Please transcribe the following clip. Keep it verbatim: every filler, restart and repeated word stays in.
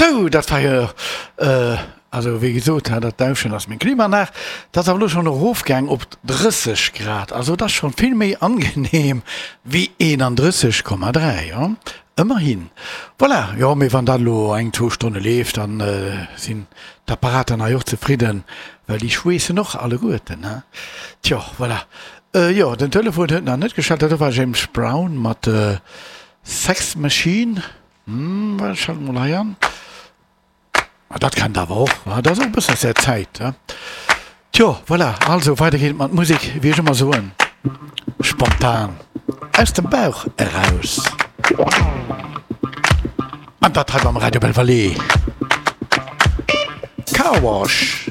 Sou, dat war jo, also wéi gesot, dat Dauschen ass meng Klimaanlag. Dat ass awer elo schonn erofgaang op drësseg Grad. Also et ass schonn vill méi angenehm wéi eenandrësseg Komma dräi, jo, ëmmerhin. Voilà, jo, mee wann dat elo eng, zwou Stonne leeft, dann sinn d'Apparater hei och zefridden, well déi schweessen och alleguerten, he. Tjo, voilà. Jo, den Telefon huet nach net geschellt. Dat do war James Brown mat Sex Machine. Hm, ech schalte mol hei an. Ah, dat kennt awer och, wa? Dat ass och e bëssen aus där Zäit, he? Tjo, voilà, also weider geet et mat Musek, wéi ech ëmmer soen, spontan, aus dem Bauch eraus. An dat hei beim Radio Belval. Car Wash.